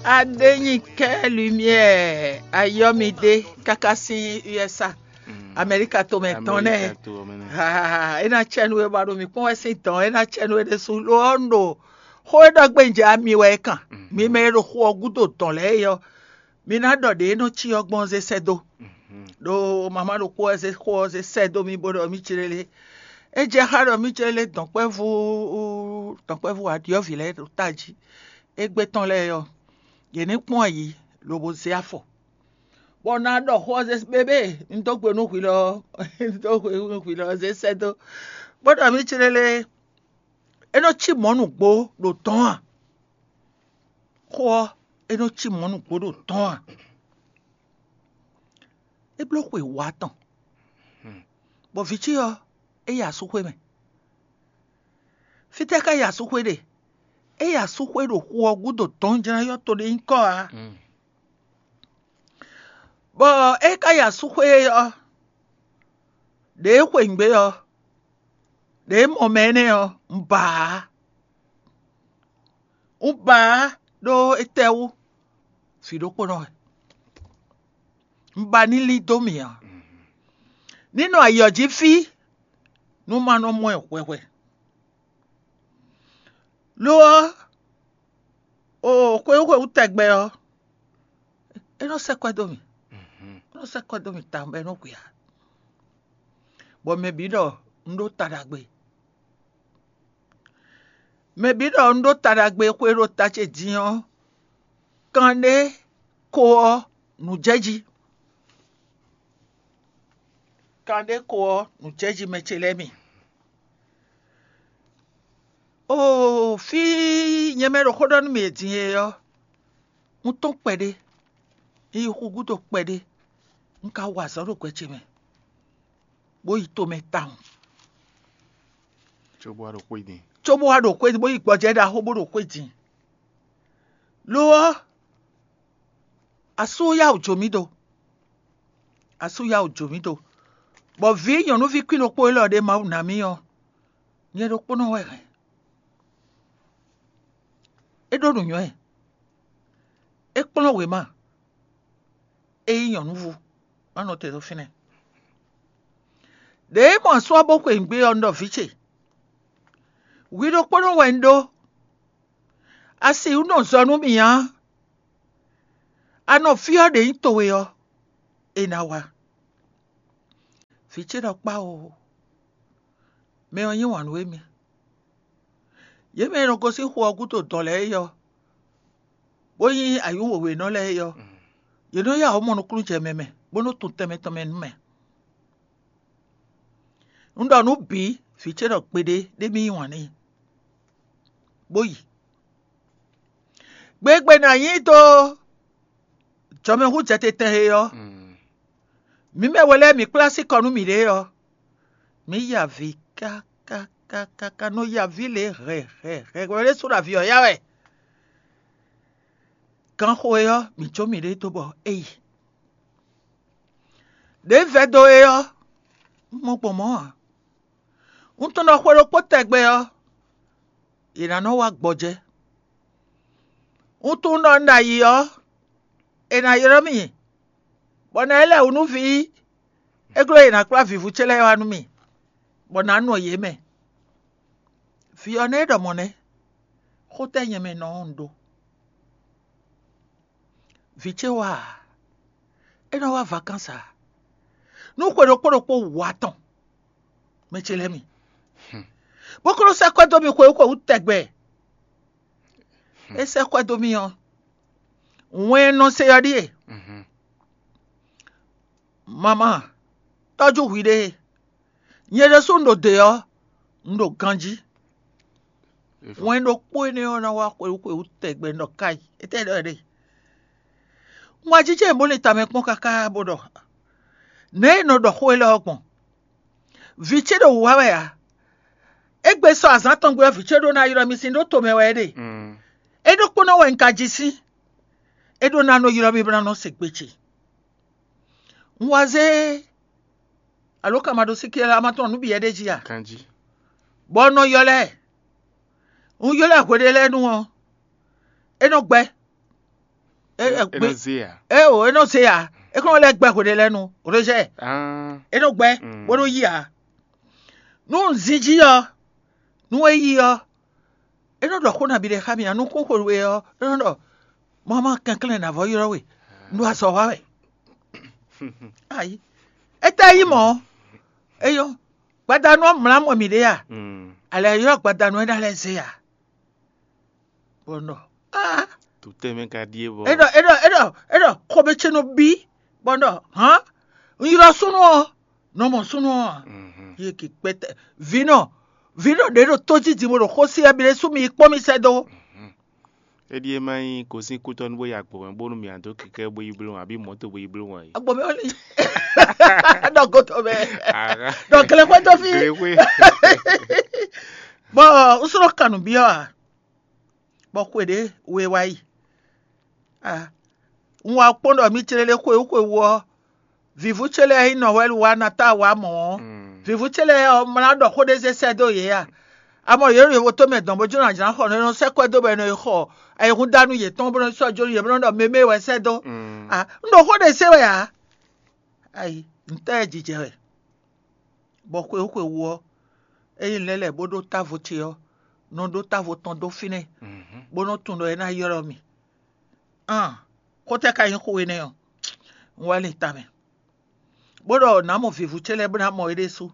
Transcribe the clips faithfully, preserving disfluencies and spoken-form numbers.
Adényikẹ́ Lumière Ayɔmide káká sín U S A, Amɛríka tomɛ tɔn nɛ́. Ha, é ná cɛ nú we bɔ a ɖo mǐ kpɔ́n wɛ sín dɔ̌n, é ná cɛ nú we ɖésú. Lo ɔ́, un ɖo xó e ɖɔ gbé un jɛ ami wɛ é kan. Mi mɛ e ɖo xo ɔ́ gúdo dɔ̌n lɛ́ɛ é ɔ́, mi ná ɖɔ ɖě e nɔ cyɔ gbɔn ɔ́ zé sɛ́ dó. Ɖó mama ɖokpó wɛ zé xó ɔ́ zé sɛ́ dó mì bó ɖɔ mì clélé. É jɛ xá ɖɔ mì clélé dɔ̌nkpɛvú dɔ̌nkpɛvú aɖyɔ̌vǐ lɛ́ɛ ɖo tají. Égbé tɔn lɛ́ɛ ɔ́, yě ní kpɔ́n ayǐ lobo zé afɔ. Bɔ un ná ɖɔ xó ɔ́ zé bébé, un dó gbe nú hwi lɔ ɔ́, un dó gbe nú hwi lɔ ɔ́ zé sɛ́ dó. Bó ɖɔ mì clélé, é nɔ cí mɔ̌ nǔgbó ɖo tɔ́n a? Xó ɔ́, é nɔ cí mɔ̌ nǔgbó ɖo tɔ́n a? É bló xwe wǒ atɔn, bɔ vǐ ce ɔ́, é yi asúxwé mɛ. Fítɛ́ ká yi asúxwé ɖe? É yi asúxwé ɖo xu ɔ́ gúdo dɔ̌n jlá yɔ́ to ɖé nyí kɔ́ ǎ. Bɔ é ka yi asúxwé ɔ́, ɖě é xweyǐgbe ɔ́, ɖě é mɔ mɛ énɛ́ ɔ́, un ba ǎ. Un ba ǎ ɖó étɛ́wú? Vǐ ɖokpónɔ wɛ. Un ba ní lí dó mì ǎ. Ní nɔ ayǐ ɔ́ jí fí, nú ma nɔ mɔ ɛ hwɛhwɛ. Lo ɔ́, o xwewú xwewú tɛgbɛ ɔ́, é nɔ sɛ́ kwɛ́ dó mì. É nɔ sɛ́ kwɛ́ dó mì tawun bɔ é nɔ hwe ǎ. Bɔ mɛ bǐ ɖɔ un ɖó ta ɖagbe. Mɛ bǐ ɖɔ un ɖó ta ɖagbe xwe ɖo ta ce din ɔ́, kanɖé ko ɔ́ nǔ jɛ jí. Kanɖé ko ɔ́ nǔ jɛ jí mɛ ce lɛ́ɛ mi. Oo, fí nyɛ mɛ ɖo xó ɖɔ nú mì e din e ɔ́, un tɔ́n kpɛɖé, un yi xu gúdo kpɛɖé, un ka wa azɔ̌ ɖo gbɛ ce mɛ, bó yi tomɛ tawun, cóbó wá ɖo xwé din. Cóbó wá ɖo xwé din, bó yi gbɔjɛ́ ɖaxó bó ɖo xwé din. Lo ɔ́, asú yá wǔ jó mì ɖo. Asú yá wǔ jó mì ɖo. Bɔ vǐ nyɔ̌nuví kwín ɖokpó élɔ́ ɖé Mawu ná mì ɔ́, nyɛ ɖokpónɔ wɛ hɛn. É ɖó nǔnywɛ́. É kplɔ́n wěma. É nyí nyɔ̌nuví, má nɔ te ɖo fínɛ́. Ɖěe mɔ asú ɔ́ bó xweyǐgbe ɔ́, un ɖɔ vǐ ce, hwi ɖokpónɔ wɛ un ɖó. A sixú nɔ zɔ nú mì ǎ. A nɔ fí ɔ́ ɖě nyí towe ɔ́, è nǎ wá. Vǐ ce ɖɔ kpá o, mɛ ɔ́ yí wǎn nú émí. Yě mɛ e nɔ gosín xu ɔ́ gúdo dɔ̌n lɛ́ɛ é ɔ́, bó nyí ayǐ wěwénɔ lɛ́ɛ é ɔ́, yě nɔ yá wǔ mɔ nukúnnú jɛ mɛ mɛ, bó nɔ́ tunwun tɛnmɛ tɔn mɛ nú mɛ. Un ɖɔ nǔ bǐ, vǐ ce ɖɔ gbeɖé ɖé mì yí wǎn n'i, bó yi. Gbegbe nǎ nyí dó jɔmɛhúnjɛtɛn he ɔ́, mǐ mɛ we lɛ́ɛ mǐ kplá sí kɔ nú mǐɖée ɔ́, mǐ ya avǐ kákákákáká nɔ ya avǐ lě hɛ̌hɛ̌hɛ̌ wɛ ɖésú ɖo avǐ ɔ́ ya wɛ. Ganxo e ɔ́, mǐ jó mǐɖée dó bɔ é yi. Ɖě vɛ́ dó é ɔ́, un mɔ gbɔn mɔ̌ ǎ. Un tunwun ɖɔ xwe ɖokpó tɛgbɛ ɔ́, è nǎ nɔ wá gbɔjɛ́. Un tunwun ɖɔ un ɖo ayǐ ɔ́, è nǎ ylɔ́ mì, bɔ nǎ yi lɛ́ wǔ nú vǐ. É glɔ́ è nǎ kplá vǐvú ce lɛ́ɛ wá nú mì, bɔ nǎ nɔ yě mɛ. Vǐ ɔ́ nɛ́ ɖɔ mɔ̌ nɛ́, xó tɛ́ nyɛ mɛ nɔ ɔ́ un ɖó? Vǐ ce wá ǎ, é nɔ wá vakansi ǎ. Nú xwe ɖokpó ɖokpó wǔ atɔn, mɛ ce lɛ́ɛ mi, bó ko nɔ sɛ́ kwɛ́ dó mì xwewú xwewú tɛgbɛ. É sɛ́ kwɛ́ dó mì ɔ́, wɛn e nɔ se ɔ́ ɖíe: Mama, tɔ́jú hwiɖée. Nyɛ ɖésú un ɖo dě ɔ́, un ɖo ganjí. Wɛn ɖokpó énɛ́ ɔ́ ná wá xwewú xwewú tɛgbɛ un ɖɔ káyi. Étɛ́ ɖɔ é ɖe? Un wá jínjɔ́n bó lin tamɛ kpɔ́n káká bó ɖɔ: Nɛ̌ è nɔ ɖɔ xó élɔ́ ɔ́ gbɔn? Vǐ ce ɖo wǔ wá wɛ ǎ. Égbé sɔ azǎn tɔn gbe ɔ́, vǐ ce ɖó ná ylɔ́ mì sín ɖó tomɛ wɛ é ɖe. É ɖokpónɔ wɛ un ka ji sín. É ɖó ná nɔ ylɔ́ mì bó ná nɔ se gbe ce. Un wá zé alǒkanmaɖósíké lɛ́ɛ, a ma tunwun nǔ bǐ wɛ ɖ'é jí a? Ganjí. Bɔ un nɔ ylɔ́ ɛ. Un ylɔ́ ɛ hweɖé lɛ́ɛ nu ɔ́, É nɔ gbɛ. É é gbé. É o, é nɔ zé ǎ. É kɔn lɛ́ gbɛ hweɖé lɛ́ɛ nu, rejɛ. É nɔ gbɛ, bó nɔ yí ǎ. Nú un zin jí ɔ́, nú é yí ɔ́, é nɔ ɖɔ xó nabí ɖé xá mì ǎ. Nukún xwe we ɔ́, é nɔ ɖɔ: "Mama kɛnklɛ́n nǎ vɔ ylɔ́ we, un ɖo azɔ̌ wa wɛ." Ayi, étɛ́ nyí mɔ̌? É nyɔ́. Gbadanu ɔ́ mlǎ mɔ mǐɖée a? Alɛ ylɔ́ gbadanu ɔ́ ná lɛ́ zé a? Bɔ un ɖɔ: "Aa!" Tutɛ́ mɛ ka ɖíe bɔ. É ɖɔ é ɖɔ é ɖɔ é ɖɔ xomɛ ce nɔ bí, bɔ un ɖɔ: "Hǎn, un ylɔ́ súnnu ɔ́, nɔ mɔ súnnu ɔ́ a?" Yé ki kpɛtɛ vǐnɔ, vǐnɔ ɖě ɖo tó jí din bó ɖo xó sí wɛ, mi ɖésú mi yi kpɔ́n mì sɛ́ dó. É ɖíe má nyí gosín kútɔ́ nú bó yi agbo mɛ bónú mǐ dó kɛkɛ́ bó yi bló wan, abǐ mɔ̌to bó yi bló wan é. Agbo mɛ ɔ́ li. Ɖɔ goto mɛ. Ɖɔ glɛ́xwé dó fí. Glɛ́xwé. Bɔ un slɔ́ kan nǔ byɔ́ a? Bɔ xwe ɖě we wá yi. A, un wá kpɔ́n ɖɔ mì clélé xwewú xwewú ɔ́, vǐvú ce lɛ́ɛ nyí nɔ wɛ wá ná ta wá mɔ̌ ɔ́, vǐvú ce lɛ́ɛ ɔ́ mlá ɖɔ xó ɖé zé sɛ́ dó yě a? A mɔ yě ɖo yovótomɛ dɔn bó jló ná jlá xɔ nɔ e nɔ sɛ́ kwɛ́ dó bɔ è nɔ yi xɔ ayihúndánu yětɔn bó nɔ́ sɔ́ jó nú yě bó nɔ́ ɖɔ mɛmɛ wɛ sɛ́ dó. A, un ɖo xó ɖé se wɛ ǎ. Ayi, ntɛ́ jijɛ wɛ? Bɔ xwewú xwewú ɔ́, ényí lɛ́ lɛ̌ bó ɖó távo ce ɔ́, nɔ ɖó távo tɔn dó fínɛ́, bó nɔ́ tunwun ɖɔ é ná ylɔ́ mì. Aan, xó tɛ́ ka nyí xó énɛ́ ɔ́? Un wá lin tamɛ, bó ɖɔ nǎ mɔ vǐvú ce lɛ́ɛ bó ná mɔ é ɖésú.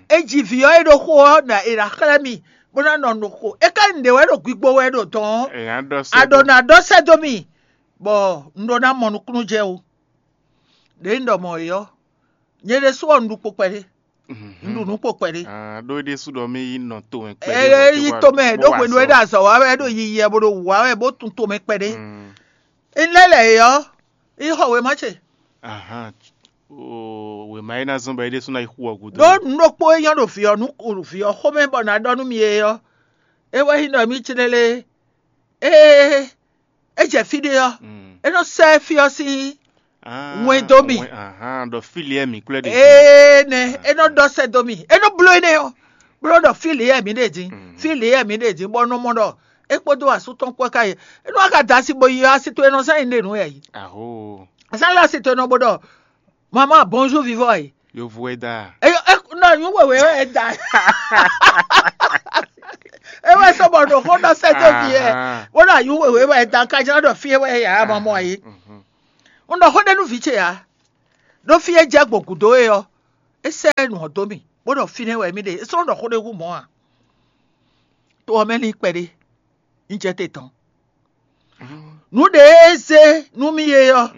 É ji vǐ ɔ́ e ɖo xo ɔ́, ɖo è nǎ xlɛ́ mì, bó ná nɔ nǔ xo. É ka nyí nǔɖé wɛ ɖo gbigbo wɛ ɖo dɔ̌n ɔ́, a ɖɔ nǎ ɖɔ sɛ́ dó mì, bɔ un ɖó ná mɔ nukúnnú jɛ ó. Ɖěe un ɖɔ mɔ̌ é ɔ́, nyɛ ɖésú ɔ́, un ɖu kpo kpɛɖé. Un ɖu nǔ kpo kpɛɖé. Ɖó é ɖésú ɖɔ mì yi nɔ tomɛ kpɛɖé. É yi tomɛ ɖó hwenu e ɖo azɔ̌ wa wɛ, ɖo yiyi wɛ, bó ɖo wǔ wa wɛ, bó tun tomɛ kpɛɖé. Un lɛ́ lɛ̌ é ɔ́, yi xɔ wěma ce. Wěma é ná zɔ́n bɔ é ɖésú ná yi xu ɔ́ gúdo. Ɖó nǔ ɖokpó e nyɔ́ ɖo vǐ ɔ́ nú vǐ ɔ́ xomɛ bɔ nǎ ɖɔ nú mi é ɔ́, é wɛ nyí ɖɔ mì clélé. Ée é jɛ fí ɖé ɔ́, é nɔ sɛ́ fí ɔ́ sín wɛn dó mì. Ɖɔ fí lě wɛ mǐ kwlɛ́ ɖe. Énɛ́ é nɔ ɖɔ sɛ́ dó mì, é nɔ bló énɛ́ ɔ́, bló ɖɔ fí lě wɛ mǐ ɖe din, fí lě wɛ mǐ ɖe din, bɔ un nɔ mɔ ɖɔ é kpódó asú tɔn kpó ká yi. É nɔ wá ka da asi bo yi ɔ́, asi towe nɔ zán nyi ɖe nǔ wɛ yi. Azán lɛ́ɛ asi towe nɔ bo ɖɔ: "Maman, bonjour vivɔ yi." Yovo wɛ da. Eyo, e nɔ nyú wěwé wɛ da. E wɛ sɔ bɔ ɖo xó ɖɔ sɛ dó vi yɛ. Bó ɖo anyú wěwé wɛ da, ka jlá ɖɔ fí wɛ ya mɔ mɔ yi. Un ɖɔ xó ɖé nú vǐ ce ya. Ɖó fí e jɛ gbɔn gǔdo é ɔ́, é sɛ nǔ ɔ́ dó mì, bó ɖɔ fínɛ́ wɛ mì ɖe. É sɔ́ ɖɔ xó ɖé hú mɔ̌ a? To ɔ́ mɛ ní kpɛɖé. Un jɛ te tɔn. Nǔ ɖě e zé nú mì é ɔ́,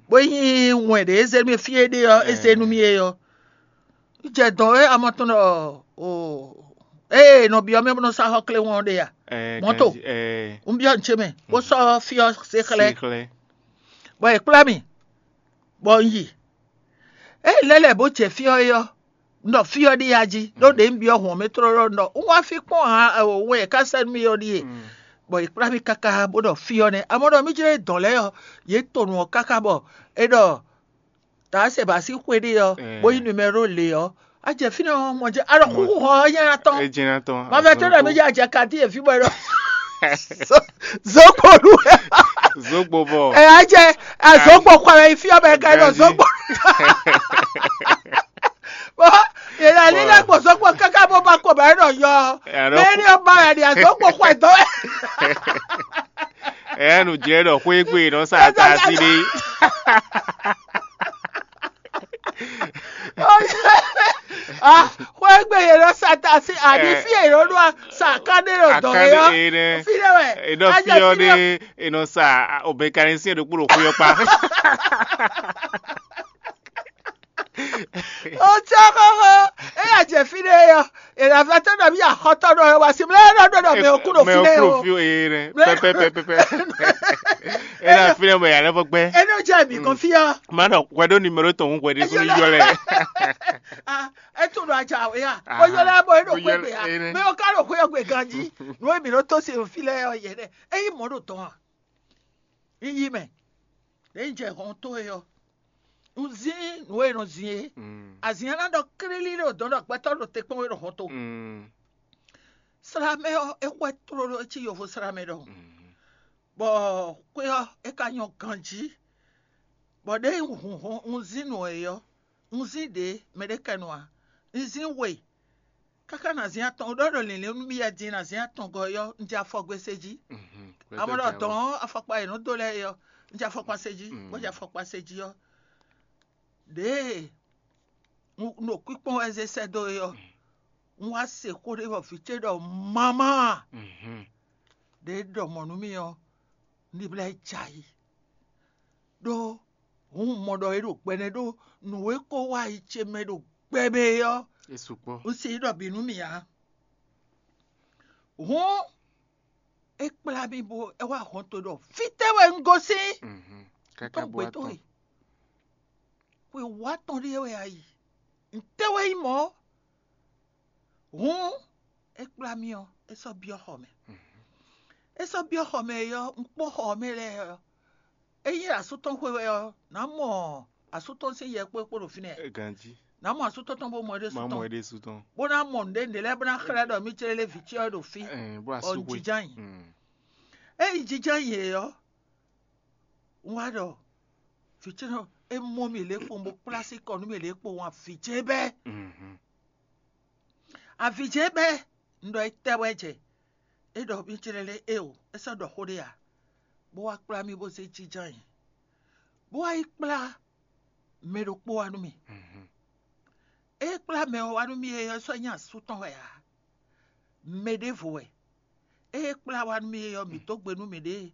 bó nyí wɛn ɖě e zé nú mì fí e ɖe ɔ́, é zé nú mì é ɔ́. Un jɛ dɔn e amɔ tɔn ɖɔ o ée nɔ byɔ́ mɛ bó nɔ sá xɔ kléwɔn ɔ́ ɖe a? Mɔ̌to. Un byɔ́ nǔ ce mɛ, bó sɔ́ fí ɔ́ zé xlɛ́, bɔ è kplá mì, bɔ un yi. Ée lɛ́ lɛ̌ bó jɛ fí ɔ́ é ɔ́, un ɖɔ fí ɔ́ ɖíe a jí, ɖó ɖě un byɔ́ hǔn ɔ́ mɛ tlóló un ɖɔ un wá fí kpɔ́n ǎ, wɛn è ká sɛ́ nú mì ɔ́ ɖíe. Bɔ è kplá mì káká bó ɖɔ fí ɔ́ nɛ́. Amɔ̌ ɖɔ mì jlɛ́ dɔ̌n lɛ́ɛ ɔ́, yě to nǔ ɔ́ káká bɔ è ɖɔ Taasɛba sín xwe ɖé ɔ́, bó nyí numɛ́ro lě ɔ́, a jɛ fínɛ́ ɔ́ mɔ jɛ alɔ xúxú xɔ ɔ́ nyɛ ná tɔn. É jɛ ná tɔn. Mavɛ tó ɖɔ mí jɛ a jɛ kadí efi bɔ é ɖɔ zogbo nu. Zogbo bɔ. Ɛ a jɛ azogbo kɔ ɛ fi ɔbɛ ka ɖɔ zogbo. Bɔ yɛlɛ lílẹ̀ gbòsógbò káká bó bá kó bá yẹn nɔ yɔ. Bẹ́ẹ̀ ni ọba yẹn ni azogbo kọ ẹ̀ tọ́. Ɛ nu jɛ ɖɔ xwé gbé nɔ sa ta sí ɖé. Xwé gbé yẹn nɔ sa ta sí àní fí yẹn nɔ ɖo sa ká ɖé nɔ dɔn yɛ fi ɖé wɛ. Enɔ fi ɔ ɖé enɔ sa obɛkanisi ɖokpó ɖo xwé ɔ kpa. Otsɔ xɔxɔ, eya jɛ fi ɖe yɔ, ena fɛ tɔ ɖɔ mi axɔtɔ ɖɔ wá si mlɛ ɖɔ ɖɔ ɖɔ mɛ okú ɖo fi ɖe o. Pɛpɛpɛpɛ. Ena fi ɖe mɛ yalɛ fɔ gbɛ. Eno jɛ mi kɔn fi ɔ. Ma ɖɔ hwɛ ɖo nimero tɔn ŋu hwɛ ɖe sunu yɔ lɛ. Ah, eto ɖo adza o ya. O yɔ lɛ bɔ eɖo hwɛ gbe ya. Mɛ o ka ɖo hwɛ gbe ganji. Nu emi ɖo to se fi lɛ yɔ yɛ ɖe. Eyi mɔ ɖo tɔn a? Yiyi mɛ. Ɖe jɛ hɔn to e yɔ. Un zin nǔ e nɔ zin é. Azin ɔ́ ná ɖɔ klílí ɖo dɔ̌n ɖɔ gbɛtɔ́ ɖo te kpɔ́n wé ɖo hɔn to. Slamɛ ɔ́, é xwɛ tlóló é cí yovo slamɛ ɖɔhun. Bɔ xwé ɔ́ é ka nyɔ́ ganjí. Bɔ ɖěe un hun hɔn un zín nǔ é ɔ́, un zín ɖě mɛ ɖé kɛ nɔ ǎ. Un zín we káká nǎ zín atɔn ɖɔ ɖo lǐnlín nú mì wɛ din nǎ zín atɔngɔ́ é ɔ́, un jɛ afɔgbe se jí. Amɔ̌ ɖɔ dɔ̌n afɔkpa e nǔ dó lɛ́ɛ é ɔ́, un jɛ afɔkpa se jí, bó jɛ afɔkpa se jí ɔ́, ɖěe un ɖo kpíkpɔ́n wɛ zé sɛ́ dó é ɔ́, un wá se xó ɖé bɔ vǐ ce ɖɔ mamá a? Ɖě ɖɔ mɔ̌ nú mì ɔ́, un ɖi blɛ́ jɛ ayǐ. Ɖó hǔn un mɔ ɖɔ é ɖo gbɛnɛ ɖó nǔ e ko wá yi ce mɛ ɖo gbɛ mɛ é ɔ́, é sukpɔ́. Un se ɖɔ bǐ nú mì ǎ. Hǔn é kplá mì bó é wá hɔn to ɖɔ fítɛ́ wɛ un gosín. Mhm. Káká tɔn bó gbé wá towe tɔn. Xwe wá tɔn ɖíe wɛ a yi. Ntɛ́ wɛ nyí mɔ̌? Hǔn é kplá mì ɔ́, é sɔ́ byɔ́ xɔ mɛ. É sɔ́ byɔ́ xɔ mɛ é ɔ́, un kpɔ́ xɔ ɔ́ mɛ lɛ́ɛ ɔ́, ényí asú tɔn xwe wɛ ɔ́, nǎ mɔ asú tɔn sín yɛ kpó é kpó ɖo fínɛ́. Ganjí. Nǎ mɔ asú tɔn tɔn bó mɔ é ɖésú má mɔ tɔn é ɖésú tɔn. Bó ná mɔ nǔɖé nǔɖé lɛ́ɛ bó ná xlɛ́ ɖɔ mí clé lé vǐ ce ɔ́ ɖo fí. Bó asú xwe jínján nyi. Mm. Ényí jínján nyi é ɔ́, un wá ɖɔ vǐ ce ɔ́ é mɔ mì lě kpowun bó kplá sí kɔ nú mì lě kpowun avǐ ce bɛ́. Mhm. Avǐ ce bɛ́ un ɖɔ é tɛ́ wɛ jɛ. É ɖɔ mí ce lɛ́ɛ lé éeǒ, é sɔ́ ɖɔ xó ɖé ǎ, bó wá kplá mì bó zé jínján nyi, bó wá yi kplá mɛ ɖokpó wá nú mì. Mhm. É kplá mɛ ɔ́ wá nú mì é ɔ́ sɔ́ nyí asú tɔn wɛ ǎ. Mɛ ɖěvo wɛ. É kplá wá nú mì é ɔ́, mǐ dó gbe nú mǐɖée,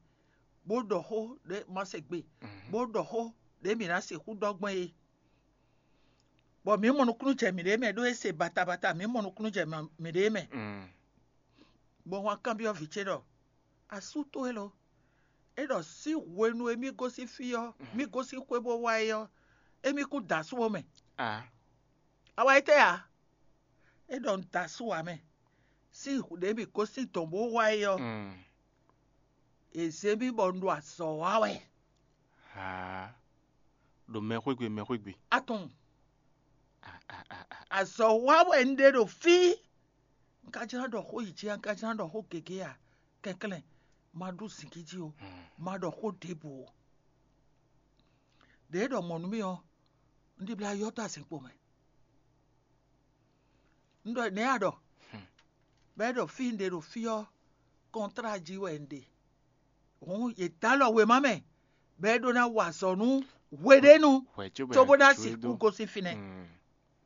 bó ɖɔ xó ɖě ma se gbe, bó ɖɔ xó ɖě mǐ ná sixú ɖɔ gbɔn é. Bɔ mǐ mɔ nukúnnú jɛ mǐɖée mɛ, ɖó é se batabata, mǐ mɔ nukúnnú jɛ mǐɖée mɛ. Mm. Bɔ wǎn kanbyɔ́ vǐ ce ɖɔ: Asú towe lo, é ɖɔ sín hwenu e mì gosín fí ɔ́, mì gosín xwé bó wá é ɔ́, émí kún da asú ɔ́ mɛ. A wá yi tɛ́ ǎ? É ɖɔ un da asú ǎ mɛ. Sín hwenu e mì gosín dɔ̌n bó wá é ɔ́, è zě mì bɔ un ɖo azɔ̌ wa wɛ. Haa, ɖo mɛxwé gbe, mɛxwé gbe. Atɔn. Azɔ̌ wa wɛ un ɖe ɖo fí. Un ka jlá ɖɔ xó yi jí a, un ka jlá ɖɔ xó gěgé a, kɛnklɛ́n, ma ɖu zǐngídi ó, ma ɖɔ xó ɖěbǔ ó. Ɖěe ɖɔ mɔ̌ nú mì ɔ́, un ɖi blá yɔ́ dó azinkpo mɛ. Un ɖɔ nɛ̌ a ɖɔ? Bɔ é ɖɔ fí un ɖe ɖo fí ɔ́, kɔntrá jí wɛ un ɖe. Hǔn yě dó alɔ wěma mɛ, bɔ é ɖó ná wa azɔ̌ nú hweɖénu, cóbó ná sixú gosín fínɛ́.